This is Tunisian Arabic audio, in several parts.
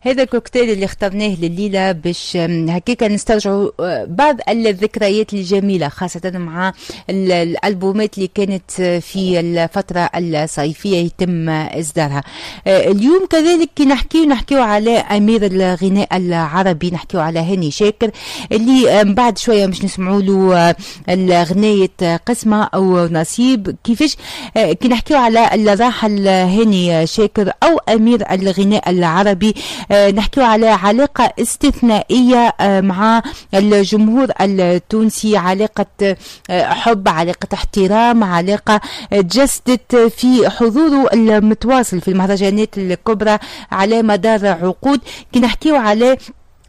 هذا الكوكتيل اللي اخترناه لليلة باش هكاك نسترجعوا بعض الذكريات الجميلة، خاصة مع الألبومات اللي كانت في الفترة الصيفية يتم إصدارها. اليوم كذلك كي نحكيو على أمير الغناء العربي، نحكيو على هاني شاكر اللي من بعد شوية مش نسمعوا له الغناية قسمة أو نصيب. كيفاش كي نحكيو على الراحل هاني شاكر أو أمير الغناء العربي، نحكيو على علاقة استثنائية مع الجمهور التونسي، علاقة حب، علاقة احترام، علاقة تجسدت في حضوره المتواصل في المهرجانات الكبرى على مدار عقود. كي نحكيو على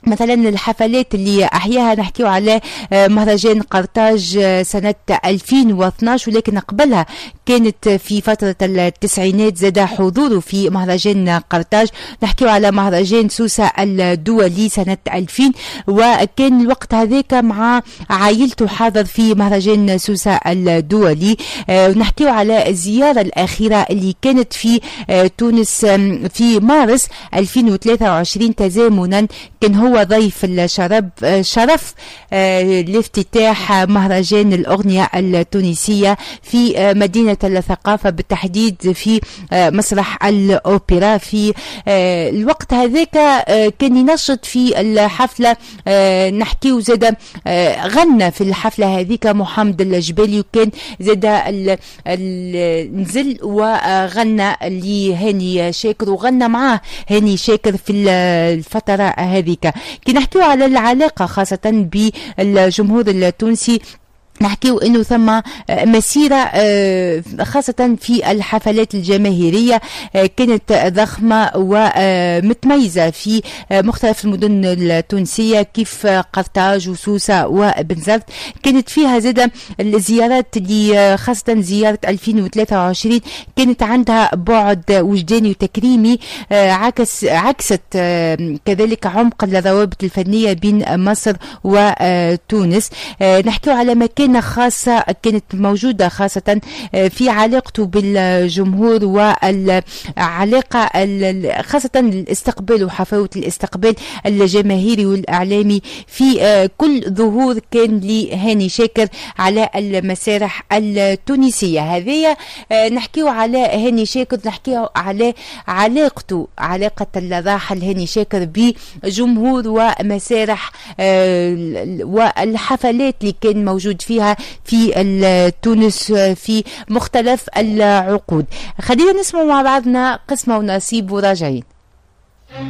مثلا الحفلات اللي أحياها، نحكيو على مهرجان قرطاج سنة 2012، ولكن قبلها كانت في فترة التسعينات زاد حضوره في مهرجان قرطاج. نحكيو على مهرجان سوسة الدولي سنة 2000، وكان الوقت هذاك مع عائلته حاضر في مهرجان سوسة الدولي. نحكيو على الزيارة الأخيرة اللي كانت في تونس في مارس 2023، تزامنا كان هو ضيف الشرف شرف لافتتاح مهرجان الأغنية التونسية في مدينة الثقافة، بالتحديد في مسرح الأوبرا. في الوقت هذاك كان ينشط في الحفلة، نحكيو زاد غنى في الحفلة هذيك محمد الجبالي، وكان زاد نزل وغنى لهاني شاكر وغنى معاه هاني شاكر في الفترة هذيك. كي نحكيو على العلاقة خاصة بالجمهور التونسي، نحكيو انه ثم مسيره خاصة في الحفلات الجماهيرية كانت ضخمة ومتميزه في مختلف المدن التونسية كيف قرطاج وسوسه وبنزرت. كانت فيها زاده الزيارات اللي خاصة زيارة 2023 كانت عندها بعد وجداني وتكريمي، عكست كذلك عمق الروابط الفنية بين مصر وتونس. نحكيو على مكان خاصة كانت موجودة خاصة في علاقته بالجمهور والعلاقة خاصة الاستقبال وحفاوة الاستقبال الجماهيري والإعلامي في كل ظهور كان لهاني شاكر على المسارح التونسية. هذه نحكيو على هاني شاكر، نحكيو على علاقته، علاقة الراحل هاني شاكر بجمهور ومسارح والحفلات اللي كان موجود فيها في تونس في مختلف العقود. خلينا نسمع مع بعضنا قسمة ونصيب وراجعين.